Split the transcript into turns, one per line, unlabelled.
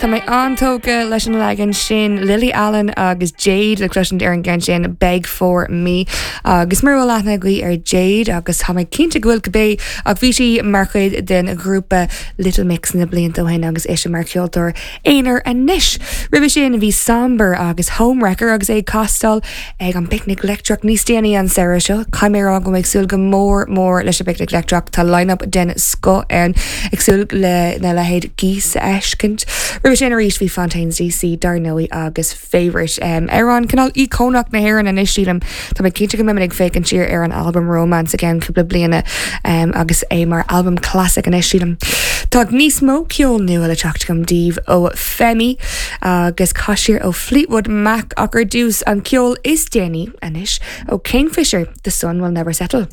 Tá mé an-tógtha leis an leagan sin, Lily Allen agus Jade le cloisint ar an gceann sin, Beg For Me. Agus mura bhfuil aithne agaibh ar Jade, agus tá mé cinnte go bhfuil cibé, ach bhí sí mar chuid den ghrúpa Little Mix na blianta ó shin agus ise mar cheoltóir aonair anois. Roimhe sin bhí Sombre agus Homewrecker agus é ag castáil ag an bPicnic Leictreach níos déanaí an samhradh seo. Caithfidh mé a rá go bhfuil mé ag súil go mór mór leis an bPicnic Leictreach. Tá line-up den scoth ann. Ag súil le na leithéid Geese a fheiscint. Roimhe sin arís bhí Fontaines DC dar ndóigh agus Favourite. Amhrán cineál íocónach na hÉireann anois sílim. Tá mé cinnte go mbeimid ag féachaint siar ar an albam Romance i gceann cúpla bliana agus é mar albam classic anois sílim. Tá níos mó ceol nua le teacht agam daoibh ó Femi agus caith siar ó Fleetwood Mac ach ar dtús an ceol is déanaí anois ó Kingfisher, The Sun Will Never Settle.